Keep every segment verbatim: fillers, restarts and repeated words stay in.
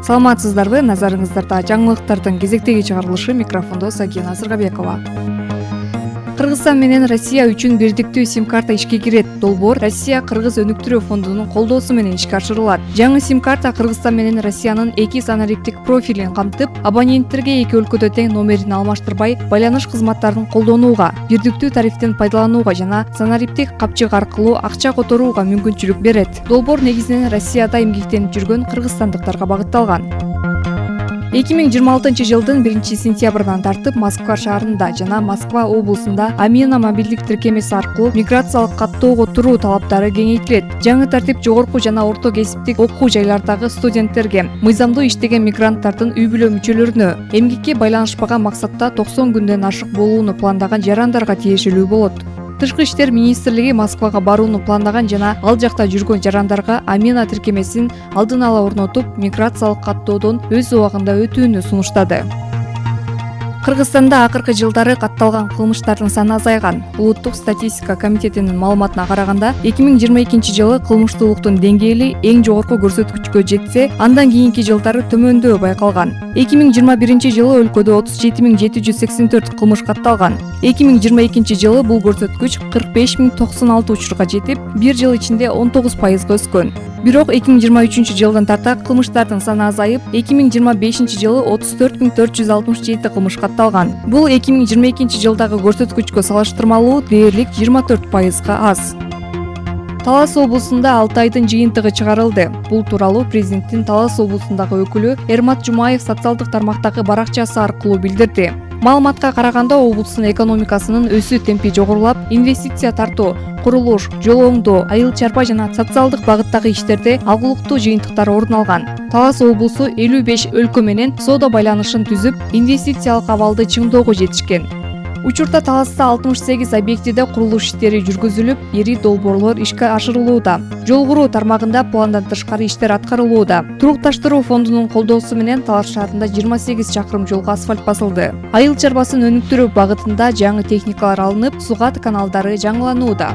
Саламатсыздарбы? Назарыңыздарда жаңылыктардын кезектеги чыгарылышы, микрофондо Сагина Сыргабекова. Кыргызстан менен Россия үчүн бирдиктүү сим-карта ишке кирет. Долбоор Россия-Кыргыз өнүктүрүү фондунун колдоосу менен ишке ашырылат. Жаңы сим-карта Кыргызстан менен Россиянын эки санариптик профилин камтып, абоненттерге эки өлкөдө тең номерин алмаштырбай, байланыш кызматтарын колдонууга, бирдиктүү тарифтен пайдаланууга жана санариптик капчык аркылуу акча которууга мүмкүнчүлүк берет. Долбоор негизинен Россияда эмгектенип жүргөн кыргызстандыктарга багытталган. эки миң жыйырма алтынчы жылдын биринчи сентябрынан тартып Москва шаарында жана Москва облусунда Амина мобилдик тиркемеси аркылуу миграциялык каттоого туруу талаптары кеңейтилет. Жаңы тартип жогорку жана орто кесиптик окуу жайлардагы студенттерге, мыйзамдуу иштеген мигранттардын үй бүлө мүчөлөрүнө, эмгекке байланышпаган максатта токсон күндөн ашык болууну пландаган жарандарга тиешелүү болот. Тышкы иштер министрлиги Москвага барууну пландаган жана ал жакта жүргөн жарандарга Амина тиркемесин алдын ала орнотуп, миграциялык каттоодон өз убагында өтүүнү сунуштады. Кыргызстанда акыркы жылдары катталган кылмыштардын саны азайган. Улуттук статистика комитетинин маалыматына караганда, эки миң жыйырма экинчи жылы кылмыштуулуктун деңгээли эң жогорку көрсөткүчкө жетсе, андан кийинки жылдары төмөндөө байкалган. эки миң жыйырма биринчи жылы өлкөдө отуз жети миң жети жүз сексен төрт кылмыш катталган. эки миң жыйырма экинчи жылы бул көрсөткүч кырк беш миң токсон алты учурга жетип, бир жыл ичинде он тогуз пайызга өскөн. Бирок эки миң жыйырма үчүнчү жылдан тарта кылмыштардын саны азайып, эки миң жыйырма бешинчи жылы отуз төрт миң төрт жүз алтымыш жети кылмыш катталган. Бул эки миң жыйырма экинчи жылдагы көрсөткүчкө салыштырмалуу дээрлик жыйырма төрт пайызга аз. Талас облусунда алты айдын жыйынтыгы чыгарылды. Бул тууралуу президенттин Талас облусундагы өкүлү Эрмат Жумаев социалдык тармактагы баракчасы аркылуу билдирди. Маалыматка караганда, облустун экономикасынын өсүү темпи жогорулап, инвестиция тартуу, курулуш, жол оңдоо, айыл чарба жана социалдык багыттагы иштерде алгылыктуу жыйынтыктар орун алган. Талас облусу элүү беш өлкө менен соода байланышын түзүп, инвестициялык абалды чыңдоого жетишкен. Учурда Таласта алтымыш сегиз объектиде курулуш иштери жүргүзүлүп, ири долбоорлор ишке ашырылууда. Жол куруу тармагында пландан тышкары иштер аткарылууда. Турукташтыруу фондунун колдоосу менен Талас шаарында жыйырма сегиз чакырым жолго асфальт басылды. Айыл чарбасын өнүктүрүү багытында жаңы техникалар алынып, сугат каналдары жаңыланууда.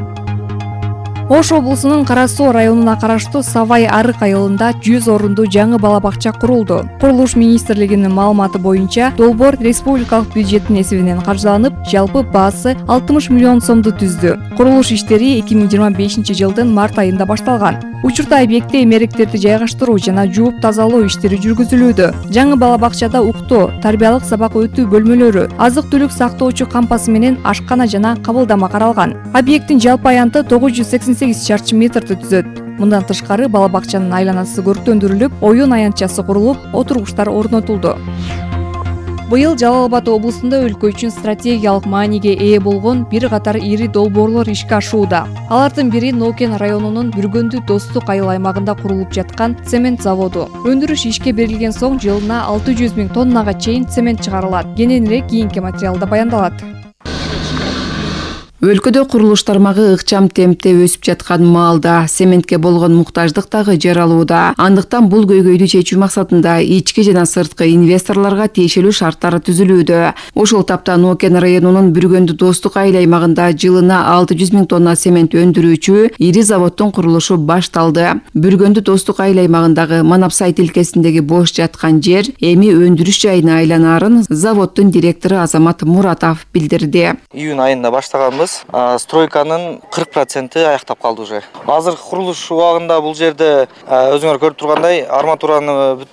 Ош облусунун Кара Суу районуна караштуу Савай Арык айылында жүз орунду жаңы бала бакча курулду. Курулуш министрлигинин маалыматы боюнча, долбоор республикалык бюджеттин эсебинен каржыланып, жалпы баасы алтымыш миллион сомду түздү. Курулуш иштери эки миң жыйырма бешинчи жылдын март айында башталган. Учурда объектте эмеректерди жайгаштыруу жана жууп тазалоо иштери жүргүзүлүүдө. Жаңы бала бакчада уктоо, тарбиялык сабак өтүү бөлмөлөрү, азык-түлүк сактоочу кампасы менен ашкана жана кабылдама каралган. Объекттин жалпы аянты тогуз жүз сексен сегиз чарчы метрди түзөт. Мындан тышкары бала бакчанын айланасы көрктөндүрүлүп, оюн аянтчасы курулуп, отургучтар орнотулду. Быйыл Жалал Абад облусунда өлкө үчүн стратегиялык мааниге ээ болгон бир катар ири долбоорлор ишке ашууда. Алардын бири Нокен районунун Бүргөндү Достук айыл аймагында курулуп жаткан цемент заводу. Өндүрүш ишке берилген соң жылына алты жүз миң тоннага чейин цемент чыгарылат. Кененирээк кийинки материалда баяндалат. Өлкөдө курулуш тармагы ыкчам темпте өсүп жаткан маалда цементке болгон муктаждык дагы жаралууда. Андыктан бул көйгөйдү чечүү максатында ички жана сырткы инвесторлорго тиешелүү шарттар түзүлүүдө. Ошол тапта Нокен районунун Бүргөндү Достук айыл аймагында жылына алты жүз миң тонна цемент өндүрүүчү ири заводдун курулушу башталды. Бүргөндү Достук айыл аймагындагы Манапсай тилкесиндеги бош жаткан жер эми өндүрүш жайына айланаарын заводдун директору Азамат Муратов билдирди. Июнь айында баштаганбыз. Стройканын кырк проценти аяктап калды уже. Азыр курулуш убагында бул жерде өзүңөр көрүп тургандай арматураны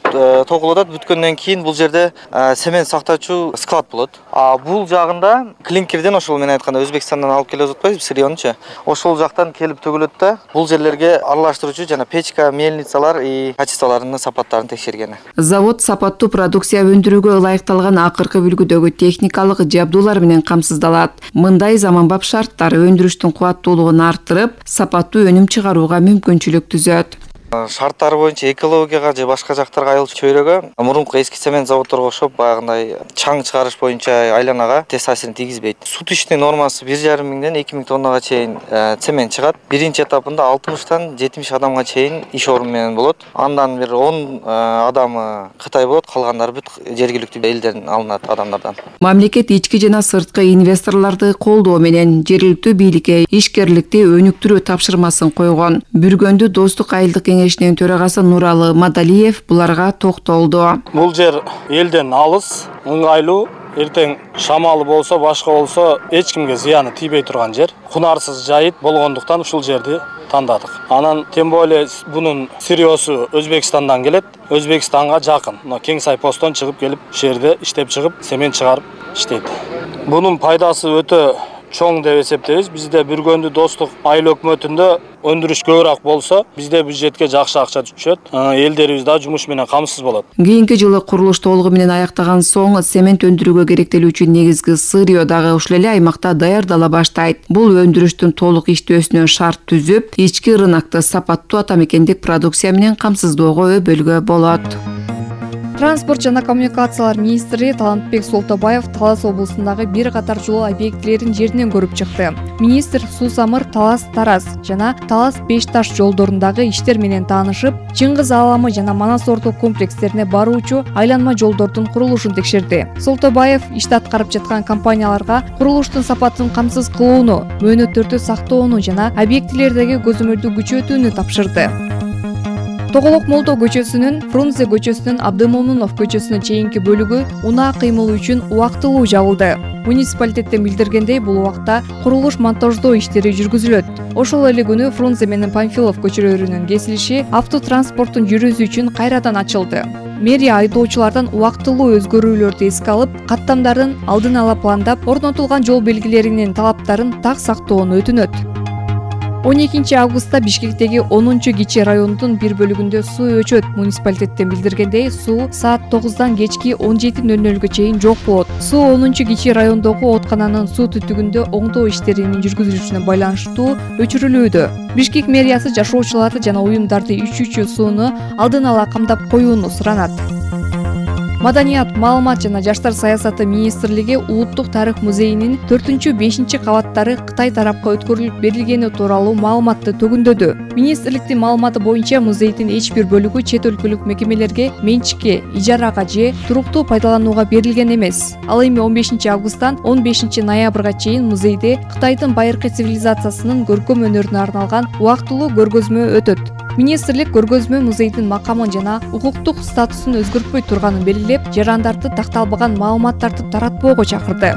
тогулуп атат. Бүткөндөн кийин бул жерде цемент сактоочу склад болот. А бул жагында клинкерден, ошол мен айтканда Өзбекстандан алып келип атпайбыз, Сырьончу. Ошол жактан келип төгүлөт да, бул жерлерге аралаштыруучу жана печка, мельницалар и качестволорунун сапаттарын текшерген. Завод сапаттуу продукция өндүрүүгө ылайыкталган акыркы үлгүдөгү техникалык жабдуулар менен камсыздалат. Мындай заманбап шарттар өндүрүштүн кубаттуулугун арттырып, сапаттуу өнүм чыгарууга мүмкүнчүлүк түзөт. Шарттары боюнча экологияга же башка жактарга айыл чөйрөгө мурунку эски цемент заводдорго окшоп баягындай чаң чыгарыш боюнча айланага терс таасирин тийгизбейт. Сут иштин нормасы бир жарым миңден эки миң тоннага чейин цемент чыгат. Биринчи этапында алтымыштан жетимиш адамга чейин иш орун менен болот. Андан бир он адамы Кытай болот, калгандары бүт жергиликтүү элдерден алынат адамдардан. Мамлекет ички жана сырткы инвесторлорду колдоо менен жергиликтүү бийликке ишкерликти өнүктүрүү тапшырмасын койгон. Бүргөндү Достук айылдык кеңешинин төрагасы Нуралы Мадалиев буларга токтолду. Бул жер элден алыс, ыңгайлуу, эртең шамалы болсо, башка болсо эч кимге зыяны тийбей турган жер. Кунарсыз жайыт болгондуктан ушул жерди тандадык. Анан тем более бунун сырьёсу Өзбекстандан келет. Өзбекстанга жакын. Мына Кеңсай постон чыгып келип, ушул жерде иштеп чыгып, семен чыгарып иштейт. Бунун пайдасы өтө чоң деп эсептейбиз. Бизде Бүргөндү достук айыл өкмөтүндө өндүрүш көбүрөөк болсо, бизде бюджетке жакшы акча түшөт. Элдерибиз да жумуш менен камсыз болот. Кийинки жылы курулуш толугу менен аяктаган соң цемент өндүрүүгө керектелүүчү негизги сырьё дагы ушул эле аймакта даярдала баштайт. Бул өндүрүштүн толук иштөөсүнө шарт түзүп, ички рынокто сапаттуу атамекендик продукция менен камсыздоого өбөлгө болот. Транспорт жана коммуникациялар министри Талантбек Солтобаев Талас облусундагы бир катар жол объектилерин жеринен көрүп чыкты. Министр Суу Самыр Талас Тараз жана Талас Беш Таш жолдорундагы иштер менен таанышып, Чыңгыз Аламы жана Манас Орто комплекстерине баруучу айланма жолдордун курулушун текшерди. Солтобаев ишти аткарып жаткан компанияларга курулуштун сапатын камсыз кылууну, мөөнөттөрдү сактоону жана объектилердеги көзөмөлдү күчөтүүнү тапшырды. Тоголок Молдо көчөсүнүн Фрунзе көчөсүнөн Абдымомунов көчөсүнө чейинки бөлүгү унаа кыймылы үчүн убактылуу жабылды. Муниципалитеттен билдиргендей, бул убакта курулуш монтаждоо иштери жүргүзүлөт. Ошол эле күнү Фрунзе менен Памфилов көчөлөрүнүн кесилиши автотранспорттун жүрүүсү үчүн кайрадан ачылды. Мэрия айдоочулардан убактылуу өзгөрүүлөрдү эске алып, каттамдардын алдын ала пландап, орнотулган жол белгилеринин талаптарын так сактоону өтүнөт. он экинчи августта Бишкектеги онунчу кичи райондун бир бөлүгүндө суу өчөт. Муниципалитеттен билдиргендей, суу саат тогуздан кечки он жети нөл нөлгө чейин жок болот. Суу онунчу кичи райондогу ооткананын суу түтүгүндө оңдоо иштеринин жүргүзүлүшүнө байланыштуу өчүрүлүүдө. Бишкек мэриясы жашоочуларды жана уюмдарды ичүүчү сууну алдын ала камдап коюуну суранат. Маданият, маалымат жана жаштар саясаты министрлиги Улуттук тарых музейинин төртүнчү бешинчи кабаттары Кытай тарапка өткөрүлүп берилгени тууралуу маалыматты төгүндөдү. Министрликтин маалыматы боюнча музейдин эч бир бөлүгү чет өлкөлүк мекемелерге менчикке, ижарага же туруктуу пайдаланууга берилген эмес. Ал эми он бешинчи августтан он бешинчи ноябрга чейин музейде Кытайдын байыркы цивилизациясынын көркөм өнөрүнө арналган убактылуу көргөзмө өтөт. Министрлик көргөзмө музейдин макамын жана укуктук статусун өзгөртпөй турганын белгилеп, жарандарды такталбаган маалыматтарды таратпоого чакырды.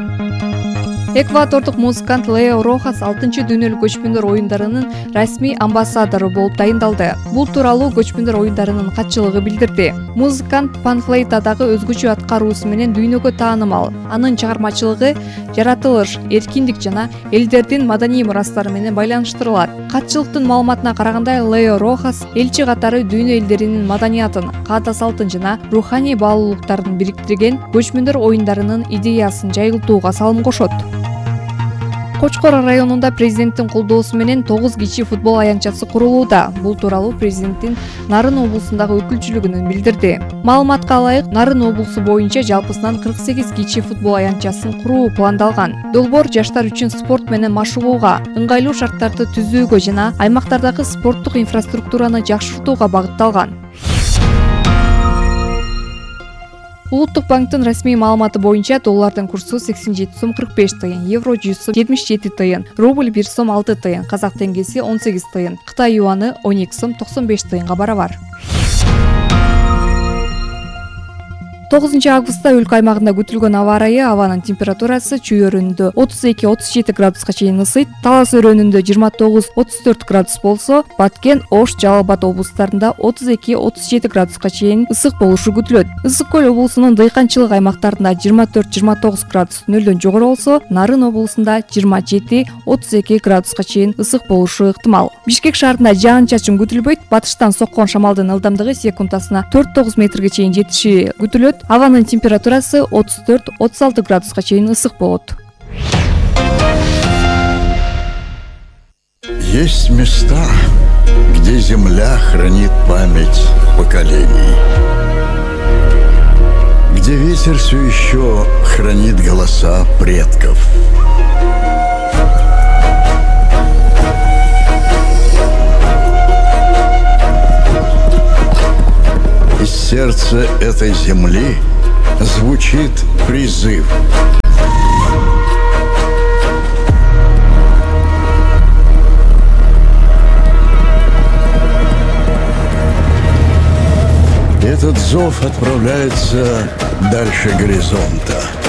Эквадордук музыкант Лео Рохас алтынчы дүйнөлүк көчмөндөр оюндарынын расмий амбассадору болуп дайындалды. Бул тууралуу көчмөндөр оюндарынын катчылыгы билдирди. Музыкант панфлейтадагы өзгөчө аткаруусу менен дүйнөгө таанымал. Анын чыгармачылыгы жаратылыш, эркиндик жана элдердин маданий мурастары менен байланыштырылат. Катчылыктын маалыматына караганда, Лео Рохас элчи катары дүйнө элдеринин маданиятын, каада салтын жана руханий баалуулуктарын бириктирген көчмөндөр оюндарынын идеясын жайылтууга салым кошот. Кочкор районунда президенттин колдоосу менен тогуз кичи футбол аянтчасы курулууда. Бул тууралуу президенттин Нарын облусундагы өкүлчүлүгүнөн билдирди. Маалыматка ылайык, Нарын облусу боюнча жалпысынан кырк сегиз кичи футбол аянтчасын куруу пландалган. Долбоор жаштар үчүн спорт менен машыгууга, ыңгайлуу шарттарды түзүүгө жана аймактардагы спорттук инфраструктураны жакшыртууга багытталган. Улуттук банктын расмий маалыматы боюнча доллардын курсу сексен жети сом кырк беш тыйын, евро жүз сом жетимиш жети тыйын, рубль бир сом алты тыйын, казак теңгеси он сегиз тыйын, Кытай юаны он эки сом токсон беш тыйынга барабар. тогузунчу августта өлкө аймагында күтүлгөн аба ырайы: абанын температурасы Чүй өрөөнүндө отуз эки отуз жети градуска чейин ысыйт, Талас өрөөнүндө жыйырма тогуз отуз төрт градус болсо, Баткен, Ош, Жалал Абад облустарында отуз эки отуз жети градуска чейин ысык болушу күтүлөт. Ысык көл облусунун дыйканчылык аймактарында жыйырма төрт жыйырма тогуз градус нөлдөн жогору болсо, Нарын облусунда жыйырма жети отуз эки градуска чейин ысык болушу ыктымал. Бишкек шаарында жаан-чачын күтүлбөйт, батыштан соккон шамалдын ылдамдыгы секундасына төрт тогуз метрге чейин жетиши күтүлөт. Абанын температурасы отуз төрт отуз алты градуска чейин ысык болот. Есть места, где земля хранит память поколений, где ветер все еще хранит голоса предков. Из сердца этой земли звучит призыв. Этот зов отправляется дальше горизонта.